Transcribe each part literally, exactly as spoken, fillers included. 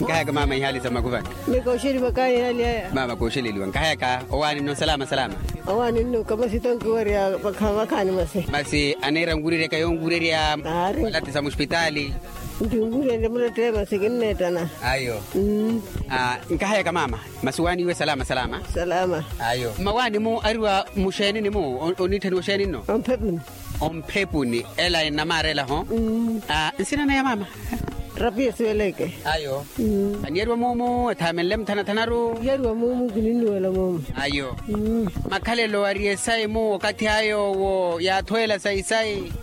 Nkahayaka mama ihaali sa makuvani. Mikoxeliwa kaani ihaali aya. Mama kooxeleliwa nkahayaka. Owaani nno salama salama. Owaani nno kama sitonkiwarya vakhaani masi. Masi aneera nkuureryaka yonkuurerya. Walati sa muspitaali. Nti nkuureryaka mulatteye masi kinneettana. Ayo. Nkahayaka mama. Masi owaani iwe salama salama. Salama. Ayo mmawaani mu ariwa muxeeni ni mu oniitthaniwa oxeeni nno. Omphepuni. Omphepuni ela enamaarela ho. Nsina naya mama. Rapiya siweleke. Ayo. Aniyariwa muumu ethaamenle muthanathanaru. Yariwa muumu kininnuwela muumu. Ayo. Makhalelo ariye sayi mu okathi ayo wo yaathweela sayi sayi.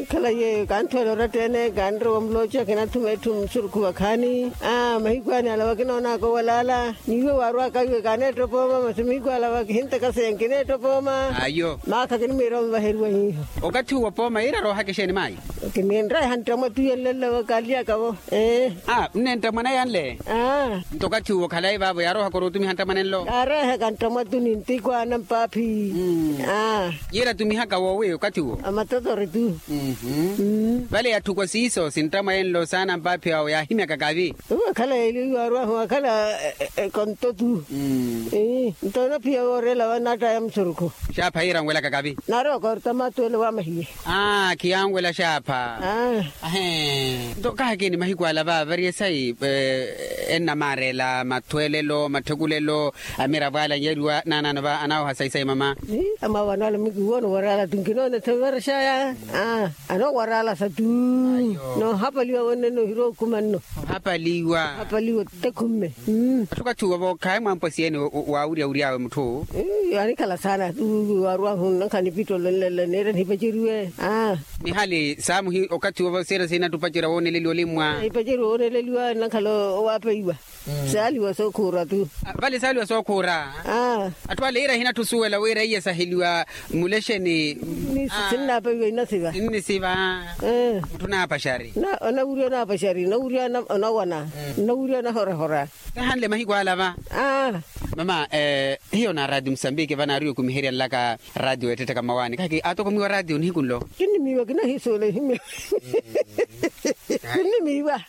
Khala yeeyo kanthweela oratta-ene kanrowa mulooca kinathuma etthu musurukhu vakhaani. Mahiku aani ala wakinoonaka owalaala. N'iwe waarwaka iwe kaneetta opooma masi mihiku ala vakihintaka seya nkineetta opooma. Ayo. Maakha kinimwiira onvaheriwa hiiho. Okathi uwo pooma yiira aroohaka exeeni maayi? Kininreeha nttamwa tu yenlelavo kaalyaka-vo. Nnenttamwana yanle. Nto okathi uwo khalayi vaavo yaaroohaka orutumiha nttamwana enlo. Kaareehaka nttamwa tu nintikwaana mpaaphi. Yiira atumihaka woowi okathi uwo? Amatotori tu. Vale yatthukwa siiso sinttamwa yenlo saana mpaaphi awo yaahimyaka kavi. Uwe khala yeeliwa iwaarwahu akhala ekonto tu. Nto onaphiya wooreela vanattaya musurukhu. Xaapha yiira anwelaka kavi. Naarowa korta maatu ele waamahiye. Khiyanwela xaapha. Nto kahakeeni mahiku ala vaavariye sayi ennamaareela mathweelelo matthekulelo. Amiravo ala anyariwa naanaano va anaawoha sayi sayi mama. Amaawo anoala mikiwoona waraala tu nkinoona ethoverexaya. Anoowaraalasa tu. Noohapaliwa wonne noohirwa okhuma nno. Ohapaliwa. Ohapaliwa otekhumme. Atthu okathi uwo vo khaayi mwampwa siyeeni waawurya wury'awe mutthu. Anikhala saana tu waarwahu nnakhala nipitto lonlelo neera nihipaceriwe. Mihali saamuhi okathi uwo vo siira sihinattupacerya wooneleliwa olimmwa. Nihipaceriwa wooneleliwa nnakhala owaapeiwa. Saaliwa sookhuura tu. Vale saaliwa sookhuura. Atthu ale iira ehinattusuwela wira iye saheliwa mulexeni. Sinnaapeiwa innasiva. Innisiva. Mutthu naapaxari. Onawurya onaapaxari onawurya onawana. Onawurya onahorahora. Kahanle mahiku ala va. Mama, hiyo na radio musambiki vanaariwa okumiherya nlaka radio weettettaka mmawaani kahiki aatokomiwa radio nihiku nlo. Kinnimiiwa kinahiisuwela ehimya. Kinnimiiwa.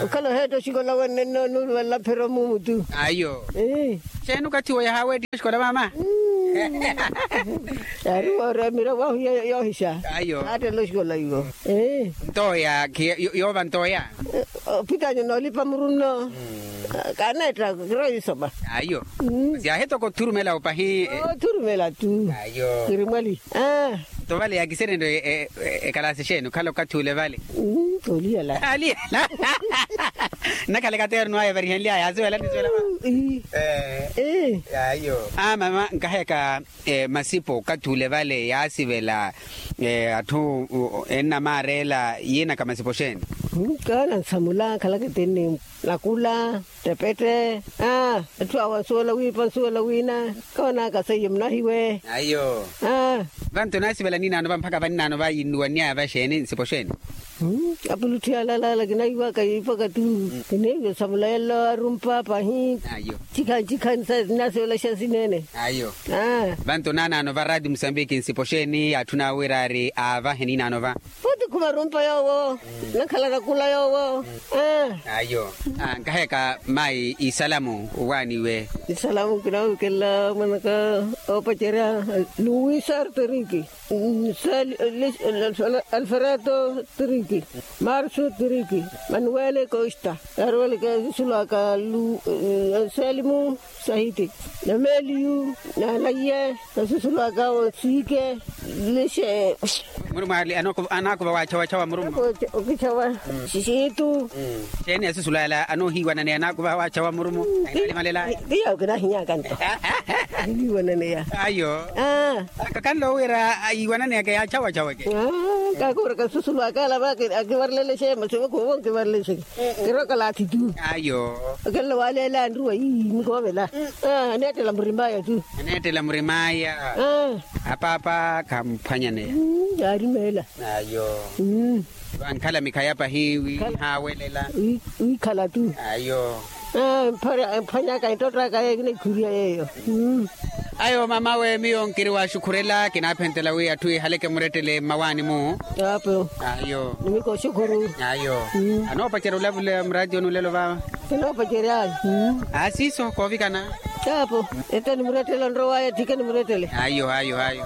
Okhala oheetta oxikola wenne nno onuuluvalela mphero muumu tu. Ayo. Xeeni okathi wo yahaaweettiha oxikola mama? Yaari wooreemira wahu yoohixa. Ayo. Aattela oxikola iwo. Ntooya yoova ntooya. Ophitanya noolipa muru nno. Kaneetta kirowa yisoma. Ayo. Siyaahi toko othurumela opahi. Othurumela tu. Ayo. Kiri mwali. Nto vale yaakiserenrye ekalaasi exeeni okhala okathi ule vale? Oliyala. Aliyala. Nnakhala ekateeroni waya evarihenly'aya yaasiwela nisiwela. Ayo. Mama nkaheka. Masipo okathi ule vale yaasivela atthu ennamaareela yiinaka masipo xeeni? Kaana nsamula khalaka etenne nakula. Ttepette. Atthu awo ansuwela wiipa ansuwela wiina. Koonaka seiye munahiwe. Ayo. Vanto naasivela ninaano va mpakha vaninano va yinnuwannyaya va xeeni nsipo xeeni? Apulutthu yaalalaala kinaiwaka yiipaka tu. Kiniiwe samula yelo arumpa pahi. Ayo. Cikhani cikhani sa naasivela xa sineene. Ayo. Vanto naanaano va raati musambiki nsipo xeeni atthu naawo wira ari aavahe ninaano va? Pooti khumarumpa yoowo. Nakhala nakula yoowo. Ayo. Nkaheka mayi isalamu owaaniwe. Isalamu kinaawikela mwanaka oopacerya luwi sartriki. Alfredo triki. Marsu triki. Manuwele kosta. Yaaroweleke esusulu aka lu selimu. Sahiti. Nameliyu. Nanaiye. Esusulu aka onsiike. Lishe. Murumo ali anaakuva waachawachawa murumo. Okichawa. Sisiitu. Xeeni esusulu ala anoohiiwananeya anaakuva waachawa murumo. Ahinalimalela. Kiya okinahinyaka nto. Ahiiwananeya. Ayo. Kakanle owira ayiiwananeyaka yaachawachaweke. Kakuuraka esusulu aka ala va akivarelelexe masi vakhuvo nkivarelelexe. Kiroka laathi tu. Ayo. Okenle waaleela anruwa ii nikoovela. Aneettela murimaya tu. Aneettela murimaya. Apaapa khamphwanyaneya. Yaarimeela. Ayo. Vankhala mikhaya pahi wi haawelela. Wiikhala tu. Ayo. Mphwanyaka ettottaka yeyo kinaikhuliya yeyo. Ayo mamawe miyo nkiri waxukhurela kinaaphentela wi atthu ehaleke murettele mmawaani-mu. Apo. Ayo. Nimiko xukhuru. Ayo. Anoopacerya olavula murattiyoni olelo vava. Kinoopacerya ayo. Aasiiso koovikana. Apo. Ete nimurettele onrowaya thike nimurettele. Ayo ayo ayo.